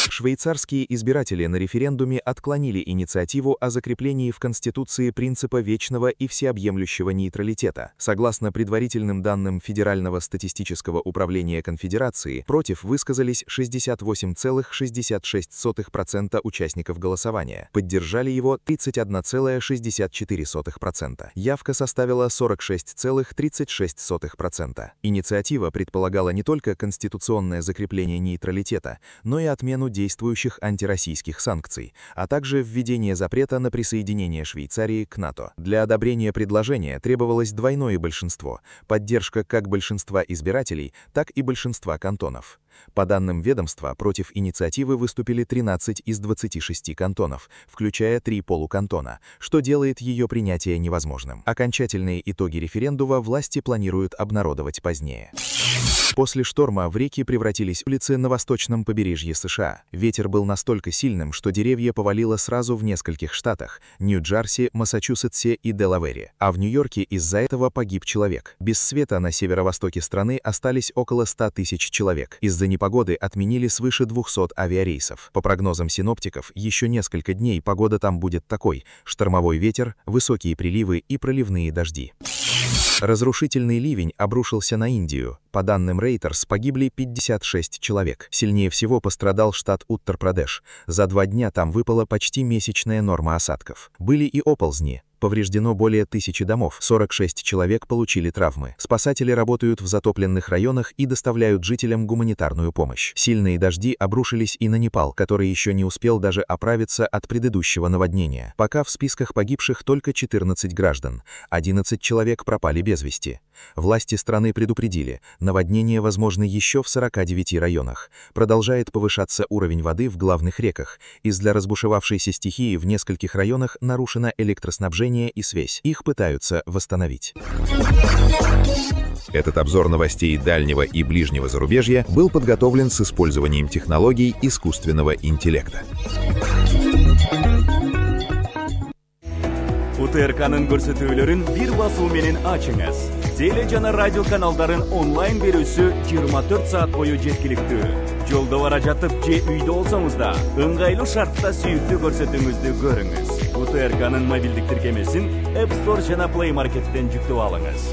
Швейцарские избиратели на референдуме отклонили инициативу о закреплении в Конституции принципа вечного и всеобъемлющего нейтралитета. Согласно предварительным данным Федерального статистического управления Конфедерации, против высказались 68,66% участников голосования. Поддержали его 31,64%. Явка составила 46,36%. Инициатива предполагала не только конституционное закрепление нейтралитета, но и отмену действующих антироссийских санкций, а также введение запрета на присоединение Швейцарии к НАТО. Для одобрения предложения требовалось двойное большинство, поддержка как большинства избирателей, так и большинства кантонов. По данным ведомства, против инициативы выступили 13 из 26 кантонов, включая 3 полукантона, что делает ее принятие невозможным. Окончательные итоги референдума власти планируют обнародовать позднее. После шторма в реки превратились улицы на восточном побережье США. Ветер был настолько сильным, что деревья повалило сразу в нескольких штатах – Нью-Джерси, Массачусетсе и Делавере. А в Нью-Йорке из-за этого погиб человек. Без света на северо-востоке страны остались около 100 тысяч человек. Из-за непогоды отменили свыше 200 авиарейсов. По прогнозам синоптиков, еще несколько дней погода там будет такой – штормовой ветер, высокие приливы и проливные дожди. Разрушительный ливень обрушился на Индию. По данным Reuters, погибли 56 человек. Сильнее всего пострадал штат Уттар-Прадеш. За 2 дня там выпала почти месячная норма осадков. Были и оползни. Повреждено более 1000 домов, 46 человек получили травмы. Спасатели работают в затопленных районах и доставляют жителям гуманитарную помощь. Сильные дожди обрушились и на Непал, который еще не успел даже оправиться от предыдущего наводнения. Пока в списках погибших только 14 граждан, 11 человек пропали без вести. Власти страны предупредили, наводнение возможно еще в 49 районах. Продолжает повышаться уровень воды в главных реках. Из-за разбушевавшейся стихии в нескольких районах нарушено электроснабжение и связь. Их пытаются восстановить. Этот обзор новостей дальнего и ближнего зарубежья был подготовлен с использованием технологий искусственного интеллекта. УТРК'нын көрсөтүүлөрүн бир басуу менен ачыңыз. теле жана радио каналдарын онлайн берүүсү 24 саат бою жеткиликтүү. Жолдо бара жатып же үйдө болсоңуз да ыңгайлуу шартта сүйүктүү көрсөтүүңүздү көрүңүз. УТРКнын мобилдик тиркемесин App Store жана Play Market'тен жүктөп алыңыз.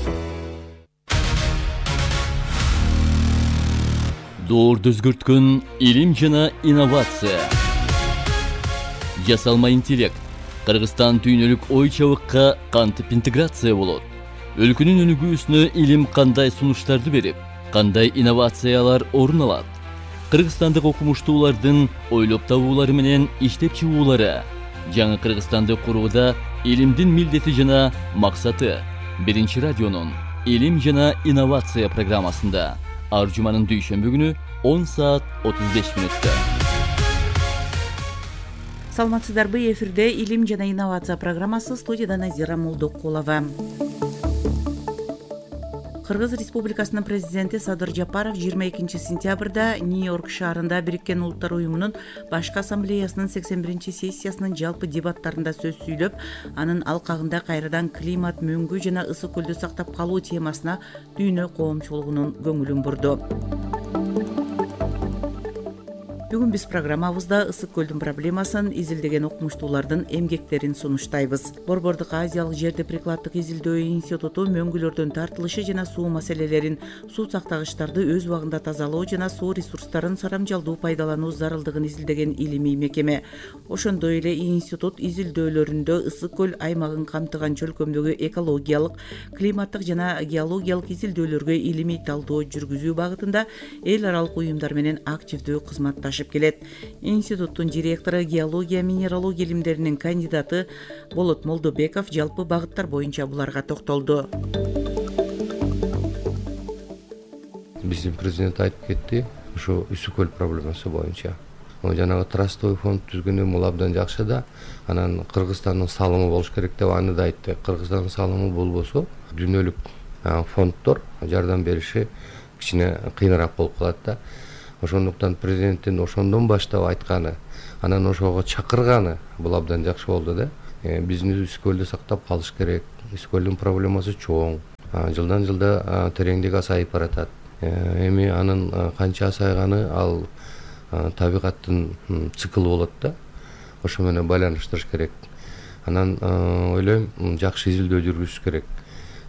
Доорду өзгөрткөн илим жана инновация. Жасалма интеллект. Кыргызстан дүйнөлүк ой чабыкка кантип интеграция болот? Өлкөнүн өнүгүүсүнө илим кандай сунуштарды берип, кандай инновациялар орун алат? Кыргызстандык окумуштуулардын ойлоп табуулары менен иштеп чыгуулары. Жаңы Кыргызстанды курууда илимдин милдети жана максаты. Биринчи радионун илим жана инновация программасында ар жуманын дүйшөмбү күнү 10 саат 35 мүнөттө. Саламатсыздарбы, эфирде илим жана инновация программасы, студияда Назира Молдокулова. Кыргыз Республикасынын президенти Садыр Жапаров 22 сентябрда Нью-Йорк шаарында Бириккен Улуттар уюмунун башкы ассамблеясынын 81 сессиясынын жалпы дебаттарында сөз сүйлөп, анын алкагында кайрадан климат, мөңгү жана ысык көлдү сактап калуу темасына дүйнө коомчулугунун көңүлүн бурду. Бүгүн биз программабызда ысык көлдүн проблемасын изилдеген окумуштуулардын эмгектерин сунуштайбыз. Борбордук Азиялык жерди прикладдык изилдөө институту мөңгүлөрдөн тартылышы жана суу маселелерин, суу сактагычтарды өз убагында тазалоо жана суу ресурстарын сарамжалдуу пайдалануу зарылдыгын изилдеген илимий мекеме. Ошондой эле институт изилдөөлөрүндө ысык көл аймагын камтыган чөлкөмдөгү экологиялык, климаттык жана геологиялык изилдөөлөргө илимий талдоо жүргүзүү багытында эл аралык уюмдар менен активдүү кызматташып келет. Институттун директору, геология, минералогия илимдеринин кандидаты Болот Молдобеков жалпы багыттар боюнча буларга токтолду. Биздин президент айтып кетти, ушу ысык көл проблемасы боюнча. Жанагы трастовый фонд түзгөнү бул абдан жакшы да, анан Кыргызстандын салымы болуш керек деп аны да айтты. Кыргызстандын салымы болбосо, дүйнөлүк фонддор жардам бериши кичине кыйыныраак болуп калат да. Ошондуктан президенттин ошондон баштап айтканы, анан ошого чакырганы бул абдан жакшы болду да. Биздин ысык көлдү сактап калыш керек. Ысык көлдүн проблемасы чоң. Жылдан жылда тереңдиги азайып баратат. Эми анын канча азайганы ал табигаттын циклы болот да. Ошо менен байланыштырыш керек. Анан ойлойм, жакшы изилдөө жүргүзүш керек.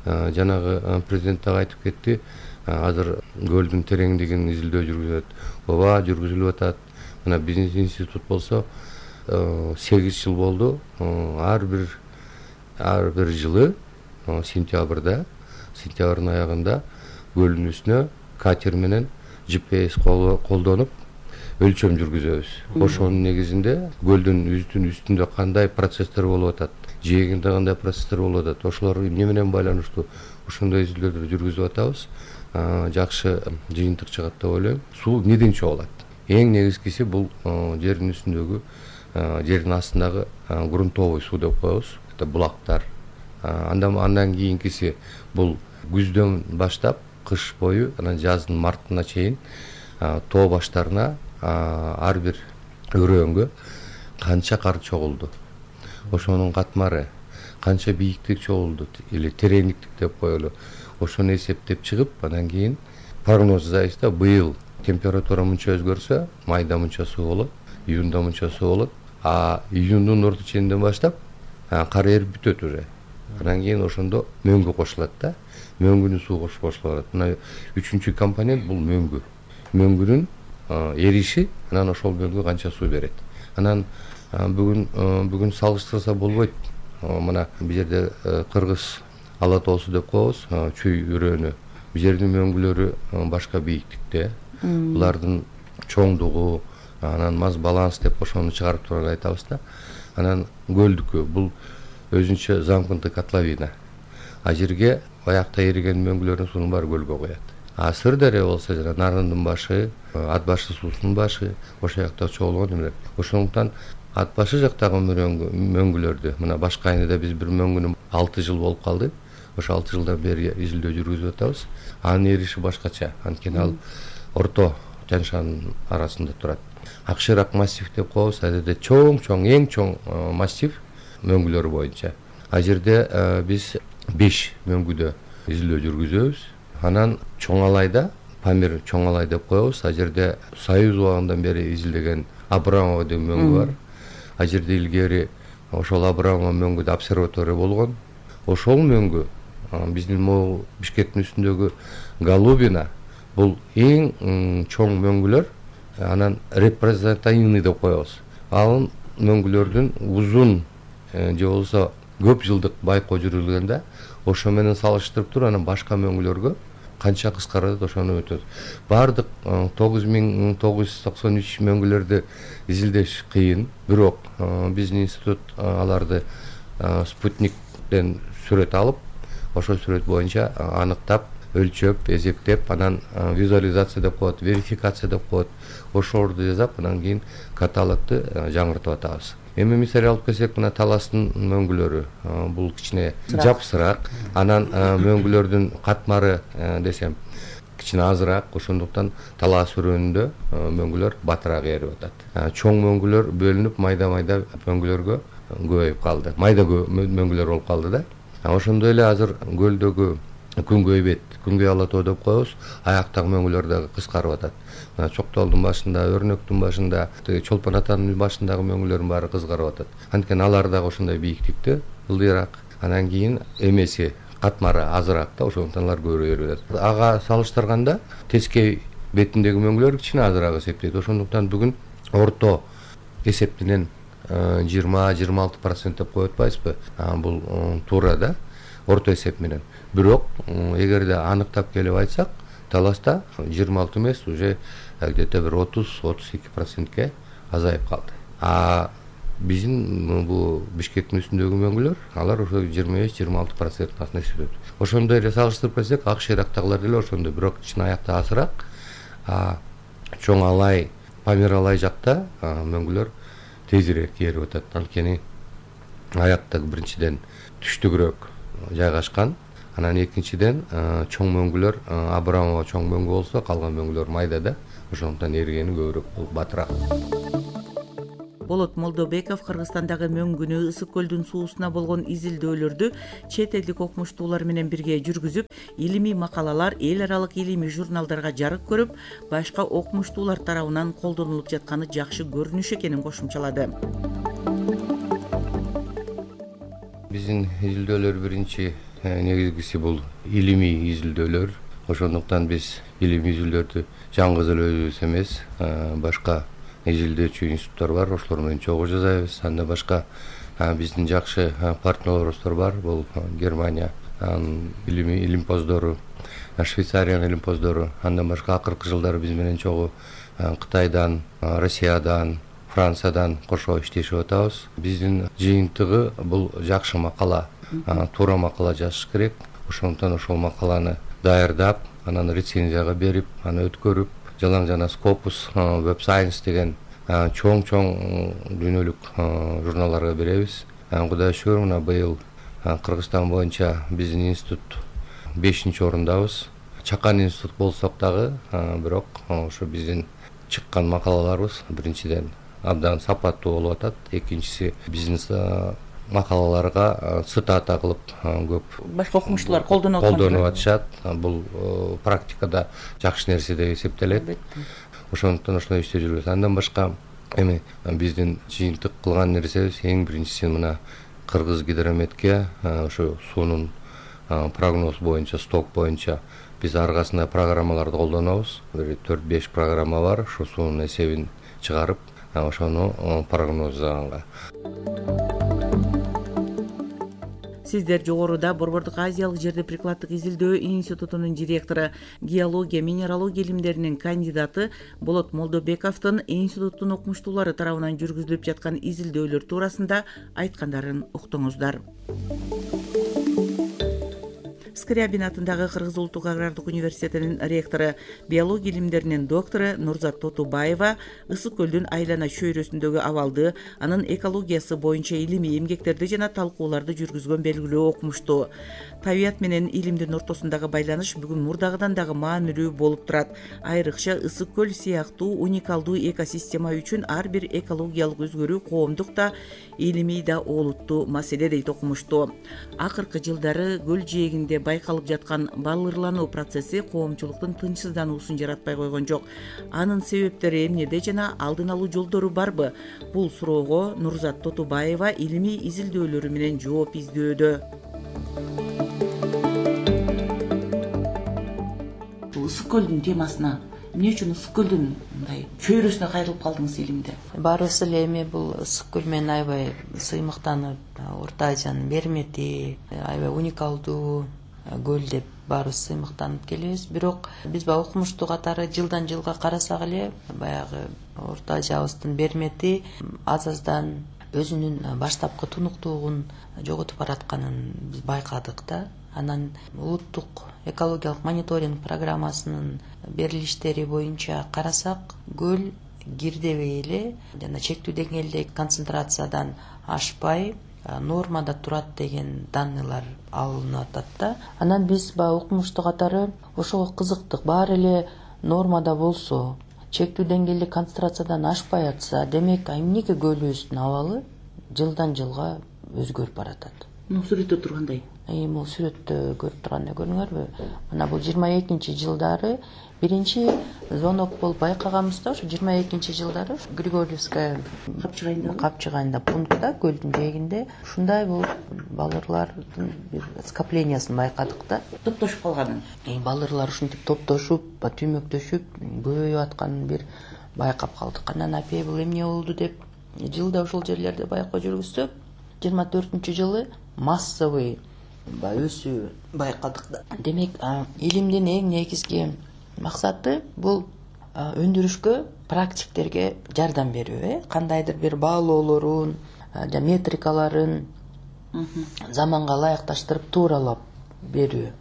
Жанагы президент дагы айтып кетти, азыр көлдүн тереңдигин изилдөө жүргүзөт. Ооба, жүргүзүлүп атат. Мына биздин институт болсо 8 жыл болду. Ар бир жылы сентябрдын аягында көлдүн үстүнө катер менен GPS колдонуп өлчөм жүргүзөбүз. Ошонун негизинде көлдүн үстүндө кандай процесстер болуп атат, жээгинде кандай процесстер болуп атат, ошолор эмне менен байланыштуу, ошондой изилдөөлөрдү жүргүзүп атабыз. Жакшы жыйынтык чыгат деп ойлойм. Суу эмнеден чогулат? Эң негизгиси бул жердин үстүндөгү, жердин астындагы грунтовый суу деп коебуз. Это булактар. Андан кийинкиси бул күздөн баштап кыш бою, анан жаздын мартына чейин тоо баштарына ар бир өрөөнгө канча кар чогулду, ошонун катмары, канча бийиктик чогулду или тереңдиктик деп коелу, ошону эсептеп чыгып, анан кийин прогноз жасайбыз. Быйыл температура мынча өзгөрсө, майда мынча суу болот, июнда мынча суу болот, июндун орто ченинен баштап кар эрип бүтөт уже. Анан кийин ошондо мөңгү кошулат да. Мөңгүнүн суу кошулат. Мына 3-чү компонент бул мөңгү. Мөңгүнүн эриши, анан ошол мөңгү канча суу берет. Анан бүгүн салыштырса болбойт. Мына бул жерде Кыргыз ала тоосу деп коебуз, чүй өрөөнү. Бул жердин мөңгүлөрү башка бийиктикте. Булардын чоңдугу, анан маз баланс деп ошону чыгарып турган айтабыз да. Анан көлдүкү бул өзүнчө замкнутый котловина. Жерге аякта эриген мөңгүлөрдүн суунун баары көлгө коет. Сырдария болсо жана Нарындын башы, Ат башы суусунун башы, ошол жакта чогулгон эмелер. Ошондуктан Ат башы жактагы мөңгүлөрдү, мына Башкайныда биз бир мөңгүнү 6 жыл болуп калды. Ошо 6 жылдан бери изилдөө жүргүзүп атабыз. Анын эриши башкача, анткени ал орто Тянь-Шань арасында турат. Акшырак массив деп коебуз, адеде чоң, эң чоң массив мөңгүлөр боюнча. Жерде биз 5 мөңгүдө изилдөө жүргүзөбүз. Анан Чоң Алайда, Памир Чоң Алай деп коебуз. Ал жерде Союз убагынан бери изилдеген Абрамова деген мөңгү бар. Ал жерде илгери ошол Абрамова мөңгүдө обсерватория болгон. Ошол мөңгү биздин могу Бишкектин үстүндөгү Голубина бул эң чоң мөңгүлөр. Анан репрезентативный деп коебуз. Ал мөңгүлөрдүн узун же болбосо көп жылдык байкоо жүргүзүлгөндө ошо менен салыштырып туруп анан башка мөңгүлөргө канча кыскарат ошону өтөт. Бардык 9993 мөңгүлөрдү изилдеш кыйын, бирок биздин институт аларды спутниктен сүрөт алып, ошол сүрөт боюнча аныктап, өлчөп, эсептеп, анан визуализация деп коет, верификация деп коет. Ошолорду жасап, анан кийин каталогду жаңыртып атабыз. Эми мисал алып келсек, мына Таластын мөңгүлөрү бул кичине жапсыраак, анан мөңгүлөрдүн катмары десем кичине азыраак, ошондуктан Талас өрөөнүндө мөңгүлөр батыраак ээрип атат. Чоң мөңгүлөр бөлүнүп, майда-майда мөңгүлөргө көбөйүп калды. Майда мөңгүлөр болуп калды да. Ошондой эле азыр көлдөгү күнгөй бет, күнгөй ала тоо деп коебуз, аяктагы мөңгүлөр дагы кыскарып атат. Чоктолдун башында, Өрнөктүн башында, Чолпон атанын башындагы мөңгүлөрдүн баары кыскарып атат. Анткени алар дагы ошондой бийиктикте, ылдыйраак. Анан кийин эмеси, катмары азыраак да, ошондуктан алар көбөйүп атат. Ага салыштырганда тескей бетиндеги мөңгүлөр кичине азыраак эсептейт. Ошондуктан бүгүн орто эсептенен 20-26% деп коюп атпайбызбы? Бул туура да, орто эсеп менен. Бирок эгерде аныктап келип айтсак, Таласта 26 эмес, уже где-то бир 30-32%ке азайып калды. Биздин бул Бишкектин үстүндөгү мөңгүлөр, алар ошо 25-26% астында эсептейт. Ошондой эле салыштырып келсек, Акш Ирактагылар деле ошондой, бирок чын аякта азыраак. Чоң Алай, Памир Алай жакта мөңгүлөр тезирээк ээрип атат. Анткени аякта биринчиден түштүгүрөөк жайгашкан. Анан экинчиден чоң мөңгүлөр Абрамова чоң мөңгү болсо, калган мөңгүлөр майдада, ошондуктан эригени көбүрөөк батыраак. Болот Молдобеков Кыргызстандагы мөңгүнү Ысык көлдүн суусуна болгон изилдөөлөрдү чет элдик окумуштуулар менен бирге жүргүзүп, илимий макалалар эл аралык илимий журналдарга жарык көрүп, башка окумуштуулар тарабынан колдонулуп жатканы жакшы көрүнүш экенин кошумчалады. Биздин изилдөөлөр биринчи негизгиси бул илимий изилдөөлөр. Ошондуктан биз илимий изилдөөлөрдү жалгыз эле өзүбүз эмес, башка изилдөөчү институттар бар, ошолор менен чогуу жасайбыз. Анда башка биздин жакшы партнерлорубуз бар, бул Германия илимий илимпоздору, Швейцариянын илимпоздору. Андан башка акыркы жылдары биз менен чогуу Кытайдан, Россиядан, Франциядан кошо иштешип атабыз. Биздин жыйынтыгы бул жакшы макала, туура макала жазыш керек. Ошондуктан ошол макаланы даярдап, анан рецензияга берип, аны өткөрүп, Жалаң жана Scopus, Web Science деген чоң дүйнөлүк журналдарга беребиз. Кудайга шүгүр, мына быйыл Кыргызстан боюнча биздин институт 5-орындабыз. Чакан институт болсок дагы, бирок ошо биздин чыккан макалаларыбыз биринчиден абдан сапаттуу болуп атат. Экинчиси биздин макалаларга цитата кылып көп башка окумуштуулар колдонуп атышат. Бул практикада жакшы нерсе деп эсептелет. Ошондуктан ошондой иштеп жүрөбүз. Андан башка эми биздин жыйынтык кылган нерсебиз эң биринчиси мына Кыргыз гидрометке ошо суунун прогноз боюнча, сток боюнча биз аргасында программаларды колдонобуз. 4-5 программа бар, ошо суунун эсебин чыгарып, ошону прогноздаганга. Сиздер жогоруда Борбордук Азиялык жерди прикладдык изилдөө институтунун директору, геология, минералогия илимдеринин кандидаты Болот Молдобековдун институттун окумуштуулары тарабынан жүргүзүлүп жаткан изилдөөлөр туурасында айткандарын уктуңуздар. Скрябин атындагы Кыргыз улуттук агрардык университетинин ректору, биология илимдеринин доктору Нурзат Тотубаева Ысык көлдүн айлана чөйрөсүндөгү абалды, анын экологиясы боюнча илимий эмгектерди жана талкууларды жүргүзгөн белгилүү окумуштуу. Табият менен илимдин ортосундагы байланыш бүгүн мурдагыдан дагы маанилүү болуп турат. Айрыкча Ысык көл сыяктуу уникалдуу экосистема үчүн ар бир экологиялык өзгөрүү коомдук да, илимий да олуттуу маселе дейт окумуштуу. Акыркы жылдары көл жээгинде байкалып жаткан балырлануу процесси коомчулуктун тынчсыздануусун жаратпай койгон жок. Анын себептери эмнеде жана алдын алуу жолдору барбы? Бул суроого Нурзат Тотубаева илимий изилдөөлөрү менен жооп издөөдө. Ысык көлдүн темасына эмне үчүн ысык көлдүн мындай чөйрөсүнө кайрылып калдыңыз илимде? Баарыбыз эле эми бул ысык көл менен аябай сыймыктанып, Орто Азиянын мермети, аябай уникалдуу көл деп баарыбыз сыймыктанып келебиз. Бирок биз баягы укмуштуу катары жылдан жылга карасак эле баягы Орто Азиябыздын мермети аз-аздан өзүнүн баштапкы тунуктуулугун жоготуп баратканын биз байкадык да. Анан улуттук экологиялык мониторинг программасынын берилиштери боюнча карасак, көл кирдебей эле жана чектүү деңгээлдеги концентрациядан ашпай нормада турат деген данныйлар алынып атат да. Анан биз баягы укмуштуу катары ошого кызыктык. Баары эле нормада болсо, чектүү деңгээлдеги концентрациядан ашпай атса, демек эмнеге көлүбүздүн абалы жылдан жылга өзгөрүп баратат? Сүрөттө тургандай. Бул сүрөттө көрүп тургандай көрүңөрбү? Мына бул 22 жылдары биринчи звонок болуп байкаганбыз да, ошо 22 жылдары Григорьевская капчыгайында пунктта, көлдүн жээгинде ушундай болуп балырлардын бир скоплениясын байкадык да. Топтошуп калганын. Балырлар ушинтип топтошуп, түмөктөшүп, көбөйүп атканын бир байкап калдык. Анан апей бул эмне болду деп жылда ошол жерлерде байкоо жүргүзсөк, 24-жылы массовый өсүү байкадык да. Демек, илимдин эң негизги максаты бул өндүрүшкө, практиктерге жардам берүү, кандайдыр бир баалоолорун, метрикаларын заманга ылайыкташтырып тууралап берүү.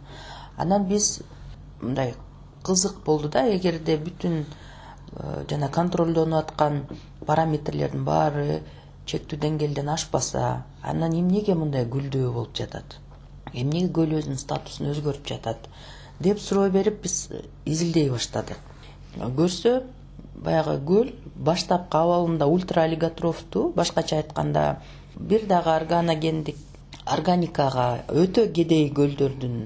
Анан биз мындай кызык болду да, эгерде бүтүн жана контролдонуп аткан параметрлердин баары чектүү деңгээлден ашпаса, анан эмнеге мындай гүлдөө болуп жатат? Эмнеге көл өзүнүн статусун өзгөртүп жатат деп суроо берип биз изилдей баштадык. Көрсө, баягы көл баштапкы абалында ультраолиготрофтуу, башкача айтканда бир дагы органикага өтө кедей көлдөрдүн